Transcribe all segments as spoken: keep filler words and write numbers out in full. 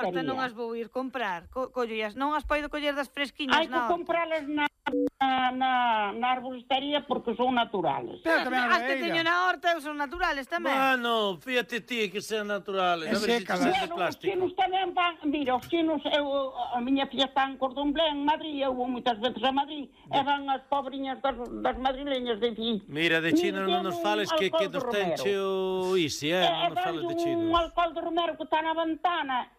horta non as vou ir comprar. Co collías, non as podo coller das fresquiñas Hai que na horta. compralas na, na, na arboristería porque son naturales. Pero tamén as que teño na horta son naturales tamén. Bueno, fíjate ti que sean naturales. A ver se Bueno, de os plástico. chinos tamén van, mira, os chinos, eu, a miña filla está en Cordomblé, en Madrid, eu vou moitas veces a Madrid, e van as pobriñas das, das madrileñas de ti. Mira, de China non nos fales que, que nos ten cheo isi, eh? Non nos fales de China. Un alcohol de romero que está na ventana,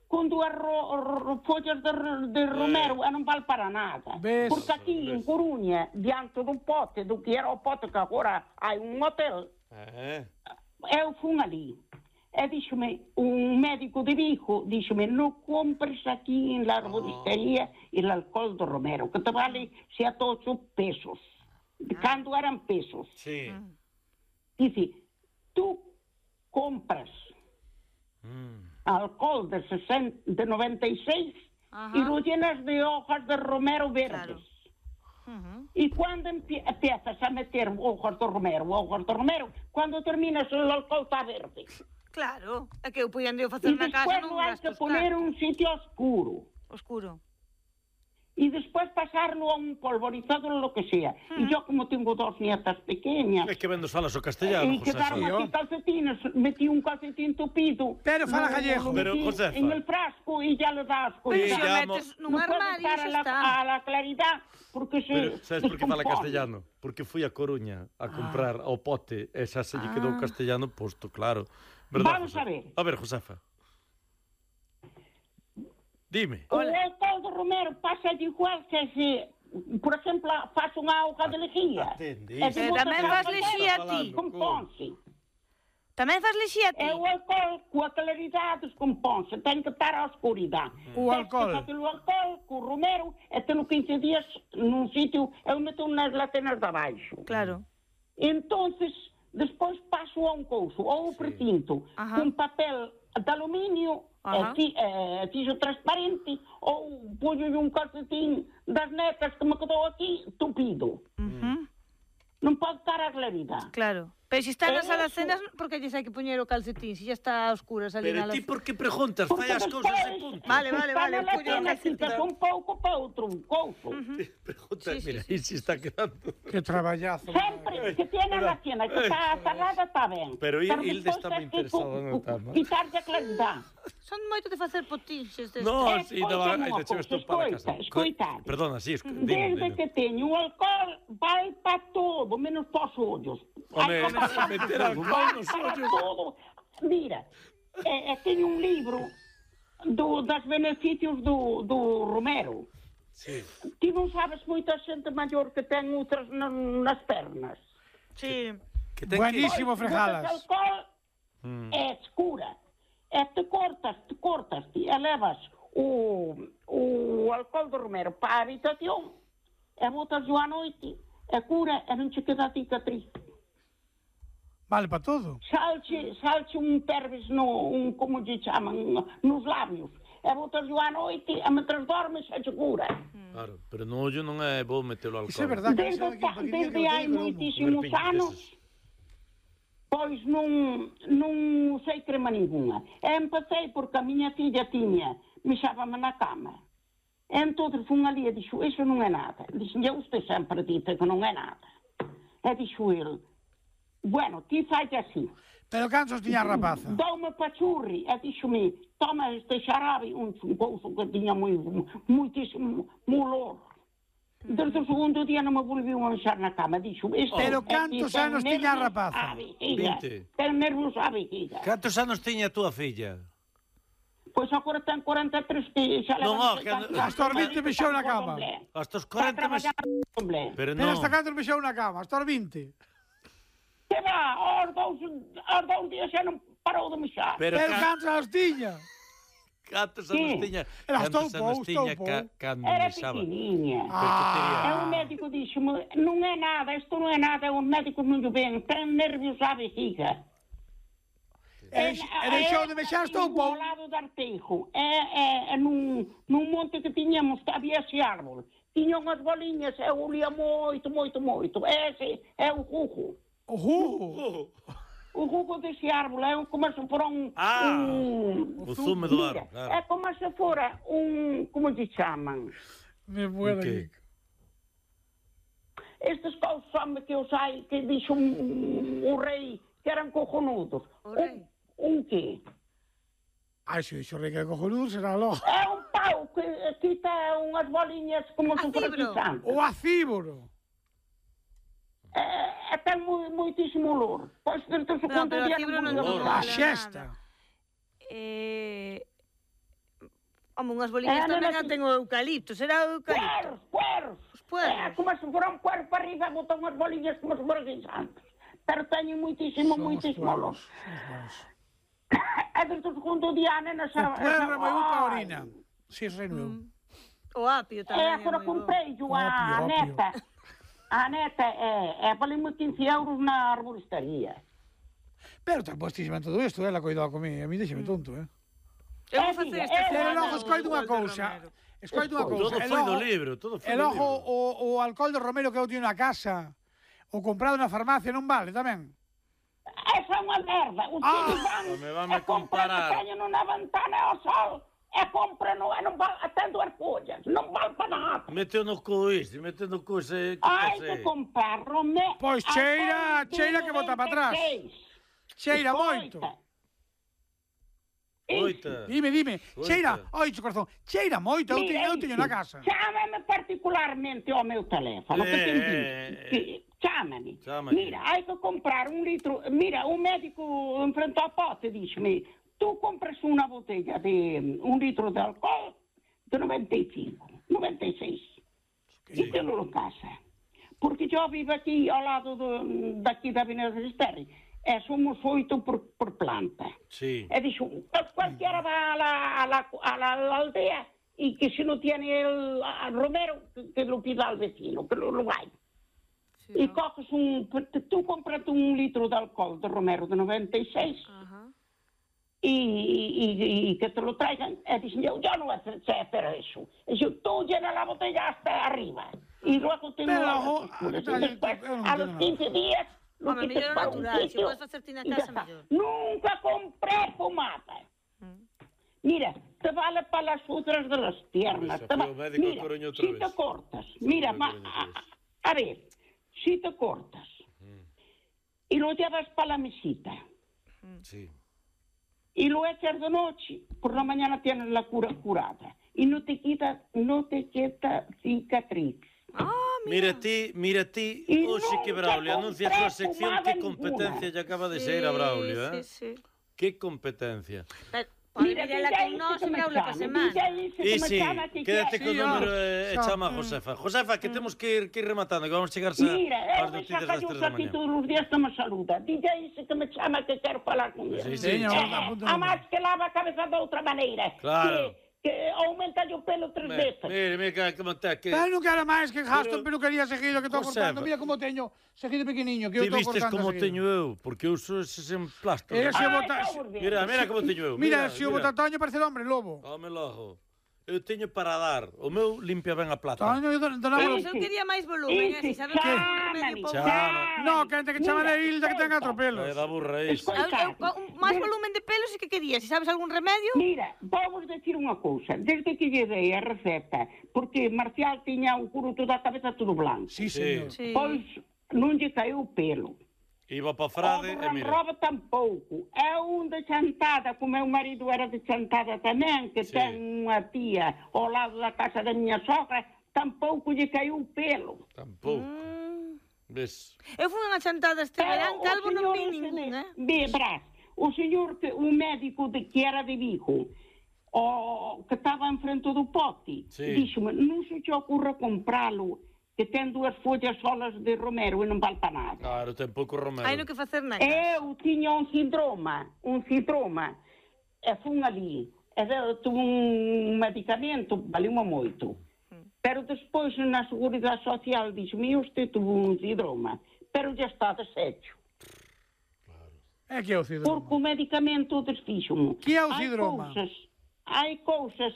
con dúas ro, ro, follas de, de romero, e non vale para nada. Ves? Porque aquí, en Coruña, diante do pote, do que era o pote, que agora hai un hotel, Eh. eu fun ali. E díxome, un médico de Vigo, díxome, non compres aquí en la arboristería el alcohol de romero, que te vale sete ocho pesos. Cando eran pesos. Sí. Dice, tú compras alcohol de, sesenta, de noventa y seis y lo llenas de hojas de romero verdes. Uh-huh. Y cuando empie empiezas a meter hojas de romero, hojas de romero, cuando terminas el alcohol está verde. Claro, é que eu podían de facer Y na casa después non lo hay gasto que poner en tanto. un sitio oscuro. Oscuro. Y después pasarlo a un polvorizado o lo que sea. Uh-huh. Y yo como tengo dos nietas pequeñas, É que vendos falas o castellano, y José. quedaron aquí calcetines, metí un calcetín tupido. Pero fala lo- gallego. lo Pero, metí Josefa. en el frasco y ya le das. Pero Sí, se o ya metes mo- nun No puedo armario estar xa a la, está. a la claridad porque se Pero, sabes por que fala descompone. castellano? Porque fui a Coruña a comprar ao pote e xa se lle quedou Ah. castellano posto, claro. Verdad, Vamos Josefa? a ver. A ver, Josefa. Dime. O alcohol de romero pasa igual que se, por exemplo, faz unha auga de lejía. Atende, E se Eh, botas tamén a fas auga lexía dentro, ti. Componse. Tamén fas lexía ti? E o alcohol, coa claridade, descomponse. Ten que estar á oscuridade. O alcohol. Tens que facer o alcohol, co romero, e teno quince días nun sitio, eu meto nas latenas de abaixo. Claro. Entonces, despois paso a un couso, ou o pretinto, Ajá. con papel de aluminio, Ajá. e fi, eh, fixo transparente, ou puño un calcetín das netas que me quedou aquí, tupido. Uh-huh. Non pode estar a claridade. Claro. Pero se está nas Eso. alacenas, por que lles hai que poñer o calcetín? Se ya está a oscuras ali Pero na ti alacena. por que preguntas? Fai as cousas e punto. Vale, vale, está vale, na puño o latena, calcetín. quitas un pouco para outro couso. Pregunta, Sí, sí, mira, sí. aí se está quedando. Que traballazo. Sempre que tiene la tienda, que está cerrada, está ben. Pero il- Hilde despois está moi tes que interesada cu- no cu- tema. Quitarlle a claridade. Son moito de facer potinxes destes. No, Eh, si, no, escoita ai, unha de cheves tú cousa, para escoita, casa. escoita. Perdona, sí, esco- dime, Desde dime. que teño o alcohol, vai para todo, menos para os ollos. Home, Hai que- meter alcohol nos para ollos. todo. Mira, eh, eh, teño un libro do, das beneficios do, do Romero. Sí. Ti non sabes moita xente maior que ten outras na, nas pernas. Sí. Que ten Buenísimo, Botas Frejalas. alcohol Mm. é escura. E te cortas, te cortas, ti elevas o, o alcohol do Romero para a habitación e botas á noite e cura e non che queda cicatriz. Vale para todo. Salche, salche un perves no, un, como lle chaman, nos labios. E botas á noite e mentre dormes e che cura. Claro, pero no ollo non é bo metelo alcohol. Iso é verdad que Desde, xa daqui un ta- poquinho desde que lo hai teño, pero moitísimos Comer piñas anos, deses. pois non, non usei crema ninguna. E empecé porque a miña filla tiña, mexábame na cama. E entón fun ali e dixo, iso non é nada. Dixen, eu usted sempre dite que non é nada. E dixo el, bueno, ti fai así. Pero cansos tiña a rapaza? Dou-me pachurri. E dixo-me, toma este xarabe, un couso que tiña moi, moitísimo molor. Desde o segundo día non me volviu a manxar na cama. Dixo, este Pero é que cantos ten anos tiña a nervios rapaza? á vejiga. vinte. Ten nervios á vejiga. Cantos anos tiña a túa filla? Pois agora ten corenta e tres que xa Non, leva... oh, que- Hasta os vinte mexeu na cama. Hasta os Está corenta meses. traballando en Comblé. Pero Pero non. hasta cantos mexeu na cama? Hasta os vinte? Que va, aos dous, aos dous días xa non parou de mexar. Pero Pero ca- cantos anos tiña? cantos Sí. anos tiña? Era Cantos estoupou, anos tiña estoupou. ca- cando Era mexaba? pequeniña. Pero que tería? E o médico dixo-me, non é nada, isto non é nada, os médicos non lle ven, ten nervios á vejiga. E e deixou de mexar estoupou? Ao lado do Arteijo, e, e, e nun, nun monte que tiñamos, que había ese árbol, tiña unhas boliñas, e olía moito, moito, moito. Ese é o jugo. Ojo! o jugo desse árbol é como se fora um... Ah, um, o zume do mira, árbol, claro. é como se fora um... Como se chamam? Me puedo Ok. aquí. Estes cousas homem, que eu sei, que disse um, um, um rei que eram cojonudos. O rei? Um, um quê? Ai, se dixo rei que é cojonudo, será logo. É um pau que aqui tem umas bolinhas como se fora Acíboro. guisante. O acíboro. É, é, tem mu- muitíssimo olor. Pois dentro do No, segundo pero dia a fibra non não lle vou olor. A mola xesta. nada. Eh... Home, unhas boliñas Eh, non, tamén non, a ten o eucalipto, será o eucalipto. Pueros, pueros. Os pueros. É como se fora um puero para arriba, botam umas bolinhas como se fora guisantes. Pero teñen muitísimo, Son os muitísimo olor. pueros. Son os pueros. É dentro do segundo dia, a nena O sabe... puero é moi bo para a orina. Si, eso sei no eu. O apio tamén É, é agora moi bo. comprei a Ópio, ópio. neta. A neta é, é valeu-me quince euros na arboristeria. Pero te postísima en todo isto, ela coidou comigo. A mí deixame tonto, eh. Eu vou É, facer mira, esta é, Pero semana logo o escoito unha alcohol de cousa. Romero. Escoito unha Todo cousa. Todo E foi do logo- libro, todo foi E do logo libro. o, o alcohol de Romero que eu teño na casa, o comprado na farmacia non vale tamén? Essa é uma merda. Os Ah, filhos vão... me vai me é comprar comparar. que tenho na ventana ao sol. É compra, não, é, não vale até duas folhas. Não vale para nada. Meteu no cu isto, meteu no cu, sei que Ai, sei. de comprar Romero... Pois cheira, cheira que bota para atrás. Cheira moito. Oita. Dime, dime. Oita. Cheira, oito corazón. Cheira moito, eu teño, eu teño na casa. Chama-me particularmente ao meu teléfono. que tem É, visto. Que- Chama-me. Chama-me. Mira, hai que comprar um litro. Mira, o médico em frente ao pote diz-me: tu compras uma botella de um litro de álcool de noventa e cinco, noventa e seis. E tê-lo em casa. Porque eu vivo aqui ao lado do, daqui da Avenida de Esterri. É, somos oito por, por planta. Sí. E dijo, cualquiera va a la, a, la, a, la, a la aldea y que si no tiene el a Romero, que, que lo pida al vecino, que lo, lo vaya. Sí, Y no? coges un, tú compras un litro de alcohol de Romero de noventa y seis Ajá. y, y, y que te lo traigan. Y dicen, yo, yo no sé hacer eso. Y yo, tú llenas la botella hasta arriba. Y luego te Pero, lo ojo, y después, yo no a los entiendo quince días, lo Home, quitas mellor o para un natural, se sitio podes facerte na y ya casa, está. mellor. Nunca compré pomada. Mm. Mira, te vale para las otras de las piernas. Pues, Te va- el médico Mira, Coruña otra si vez. te cortas, mira, El ma- médico otra a, vez. a ver, si te cortas y lo llevas para la mesita Sí. y lo echas de noche, por la mañana tienes la cura curada y no te quita, no te quita cicatriz. Ah, Mira ti, mira ti, Y hoxe que nunca Braulio anuncia a súa compré sección, pomada que ninguna. competencia lle acaba de sí, ser a Braulio, eh? Sí, sí. Que competencia. Pero, pode Mira, mirela dille con ese nós que e me Braulio pa chame, semana. dille ese E que me si, chama que quédate quer. co Sí, número ó. e Xa. chama a Josefa. Josefa, que temos que ir, que ir rematando, que vamos chegar xa Mira, ás eu noticias xa das callo tres da aquí mañá. todos os días que me saluda. Dille ese que me chama que quero falar con ele. Sí, sí, Teño, sí. apunta o A número. máis que lava a cabeza de outra maneira. Claro. Que, que aumenta o pelo tres Me- veces. Mire, mire, que, como está, que... Pero non quero máis que gasto Pero- en peluquería seguido que estou Josefa. cortando. Mira como teño seguido pequeniño, que eu Ti estou vistes cortando como seguido. teño eu, porque eu uso eses emplastos. E se Ai, bota... xa vos veo. Mira, mira como teño eu. Mira, se o bota Toño parece el hombre lobo. Home logo. Eu teño para dar. O meu limpia ben a plata. Toño, eu donamos... Pois eu quería máis volumen, eh, si sabes que é un remedio pouco. Chama. No, que antes que chama de Hilda que ten catro É pelos. da burra isto. Eu, eu, co- un- máis volumen de pelo si que quería, si sabes algún remedio. Mira, vamos decir unha cousa. Desde que lle dei a receta, porque Marcial tiña o curuto da cabeza todo blanco, Sí, señor. Sí. pois non lle caeu o pelo. Iba para O Frade do e mira. Ranroba tampouco. É un de Chantada, que o meu marido era de Chantada tamén, que Sí. ten unha tía ao lado da casa da miña sogra, tampouco lle caiu o pelo. Tampouco. Mm. Ves? Eu fui unha chantada este verán, calvo non vi ningún, eh? Ve, verás, o señor, que, o médico de, que era de Vigo, o, que estaba en frente do pote, Sí. díxome, non se te ocurra compralo, que ten dúas follas solas de Romero e non vale para nada. Claro, ten pouco romero. Hai no que facer na casa. Eu tiña un síndroma, un síndroma, e fun ali, e de- tuve un medicamento, valeu-me moito. Pero despois na Seguridade Social dixo-me, usted tuvo un síndroma, pero já está deshecho. É que é o Porque cidroma. o medicamento desfixo-me. Que é o Hai síndrome? cousas, hai cousas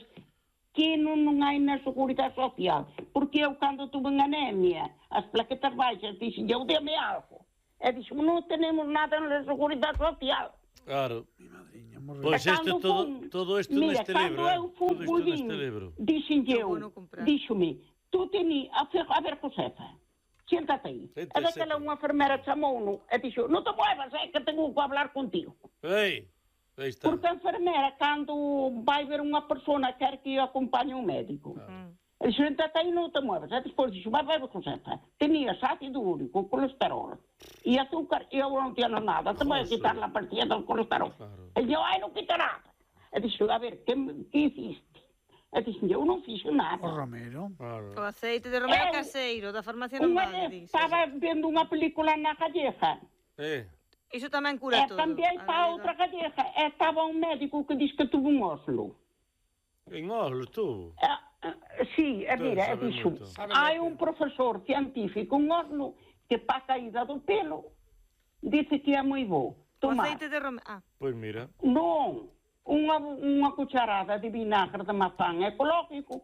que non, non hai na Seguridade Social. Porque eu, cando tuve anemia, as plaquetas baixas, dixen, eu deme algo. E dixo, non tenemos nada na Seguridade Social. Claro. Pois Pois isto todo, todo isto mira, neste libro, eh? todo isto neste libro. Dixen eu, bueno comprar. díxome, tú teni, a, fer, a ver, Josefa, siéntate aí. Siéntese. E daquela unha enfermera chamou-no e dixo, non te muevas, é que tengo que hablar contigo. Ei, aí está. Porque a enfermera, cando vai ver unha persona, quer que o acompañe un médico. Mm. E dixo, siéntate aí, non te muevas. E despois dixo, vai ver, Josefa, tenías ácido úrico, colesterol e azúcar, e eu non tiene nada, te voy a quitar la partida del colesterol. Claro. E eu, ai, non quita nada. E dixo, a ver, que, que hiciste? E dixo, eu non fixo nada. O Romero. Claro. O aceite de romero Eu- caseiro, da farmacia non Unha vale, vez dices. estaba vendo unha película na galleja, Eh, Iso tamén e cura todo. cambiei a para galega. outra galleja, e estaba un médico que diz que tuvo un óslo. en Oslo, tú. Eh, eh, sí, e Tú mira, e sabes dixo, moito. hai un profesor científico en Oslo que pa caída do pelo dice que é moi bo O tomar. aceite de romero... Ah, Pois mira. Non, unha, unha cucharada de vinagre de mazán ecológico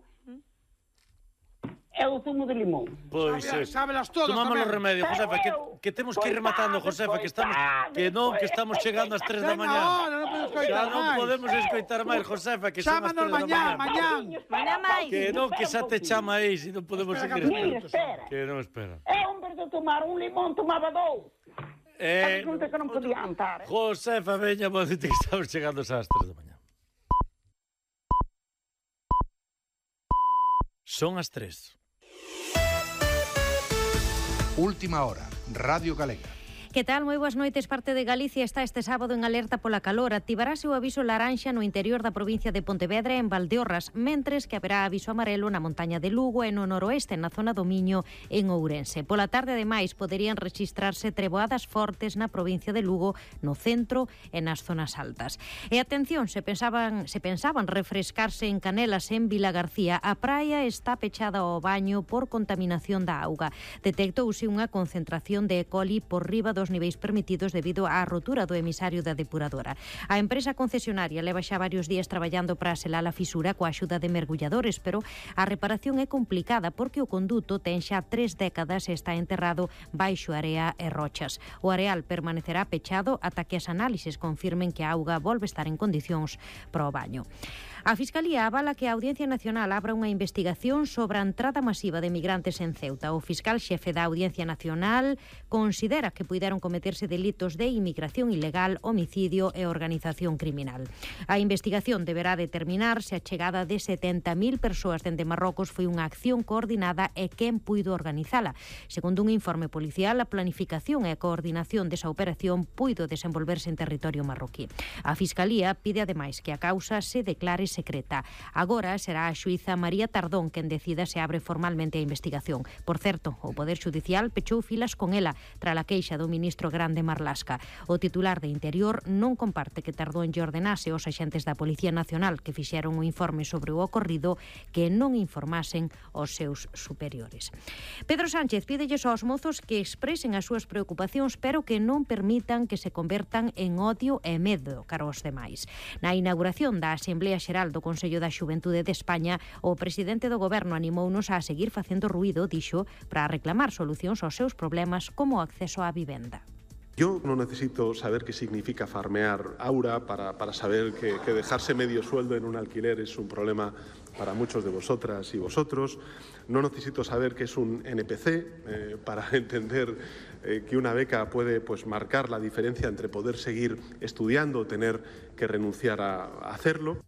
e o zumo de limón. Pois Sabe- é. sábelas todas Tomamos tamén. os remedios, Pero Josefa, que, eu, que temos que ir pois rematando, sabe, Josefa, que pois estamos sabe, que non, que pois- estamos chegando ás tres da Venga, mañá. ahora, non podemos Xa coitar non máis. podemos escoitar máis, Josefa, que son as Chámanos tres da mañá, mañá. mañá. Mañá máis. Que non, que xa te chama aí, se non podemos Espera, seguir que- Mira, esperando. espera. Que non espera. É un vez de tomar un limón, tomaba dous. Eh, Resulta que non podía andar. eh. Josefa, veña, modite que estamos chegando ás tres da mañá. Son as tres. Última hora, Radio Galega. Que tal? Moi boas noites. Parte de Galicia está este sábado en alerta pola calor. Activarase o aviso laranxa no interior da provincia de Pontevedra e en Valdeorras, mentres que haberá aviso amarelo na montaña de Lugo e no noroeste, na zona do Miño, en Ourense. Pola tarde, ademais, poderían registrarse treboadas fortes na provincia de Lugo, no centro e nas zonas altas. E atención, se pensaban, se pensaban refrescarse en Canelas, en Vilagarcía, a praia está pechada ao baño por contaminación da auga. Detectouse unha concentración de E. coli por riba dos niveis permitidos debido á rotura do emisario da depuradora. A empresa concesionaria leva xa varios días traballando para selar a fisura coa axuda de mergulladores, pero a reparación é complicada porque o conduto ten xa tres décadas e está enterrado baixo area e rochas. O areal permanecerá pechado ata que as análises confirmen que a auga volve estar en condicións para o baño. A Fiscalía avala que a Audiencia Nacional abra unha investigación sobre a entrada masiva de migrantes en Ceuta. O fiscal xefe da Audiencia Nacional considera que puideron cometerse delitos de inmigración ilegal, homicidio e organización criminal. A investigación deberá determinar se a chegada de setenta mil persoas dende Marrocos foi unha acción coordinada e quen puido organizala. Segundo un informe policial, a planificación e a coordinación desa operación puido desenvolverse en territorio marroquí. A Fiscalía pide ademais que a causa se declare secreta. Agora será a xuíza María Tardón quen decida se abre formalmente a investigación. Por certo, o Poder Judicial pechou filas con ela tras a queixa do ministro Grande Marlasca. O titular de Interior non comparte que Tardón lle ordenase aos axentes da Policía Nacional que fixeron un informe sobre o ocorrido que non informasen aos seus superiores. Pedro Sánchez pídelles aos mozos que expresen as súas preocupacións, pero que non permitan que se convertan en odio e medo cara aos demais. Na inauguración da Asamblea Xeral do Consello da Xuventude de España, o presidente do Goberno animounos a seguir facendo ruído, dixo, para reclamar solucións aos seus problemas como o acceso á vivenda. Yo no necesito saber qué significa farmear aura para, para saber que, que dejarse medio sueldo en un alquiler es un problema para muchos de vosotras y vosotros. No necesito saber qué es un N P C eh, para entender eh, que una beca puede pues, marcar la diferencia entre poder seguir estudiando o tener que renunciar a, a hacerlo.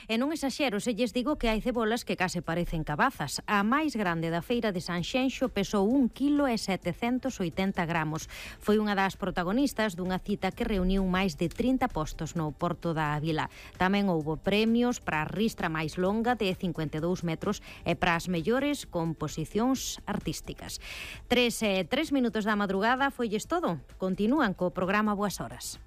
E non exaxero se lles digo que hai cebolas que case parecen cabazas. A máis grande da feira de Sanxenxo pesou un quilo e setecentos oitenta gramos. Foi unha das protagonistas dunha cita que reuniu máis de trinta postos no Porto da Ávila. Tamén houbo premios para a ristra máis longa de cincuenta e dous metros e para as mellores composicións artísticas. Tres, eh, tres minutos da madrugada foilles todo. Continúan co programa Boas Horas.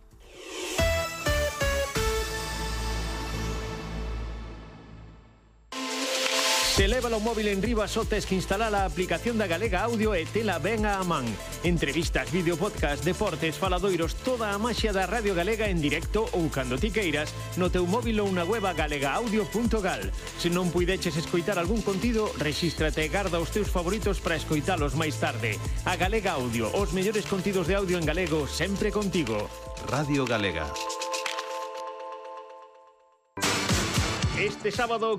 Se leva o móvil en riba só tes que instalar a aplicación da Galega Audio e tela ben á man. Entrevistas, vídeo, podcast, deportes, faladoiros, toda a maxia da Radio Galega en directo ou cando ti queiras no teu móvil ou na web galega audio punto gal. Se non puideches escoitar algún contido, rexístrate e garda os teus favoritos para escoitalos máis tarde. A Galega Audio, os mellores contidos de audio en galego sempre contigo. Radio Galega. Este sábado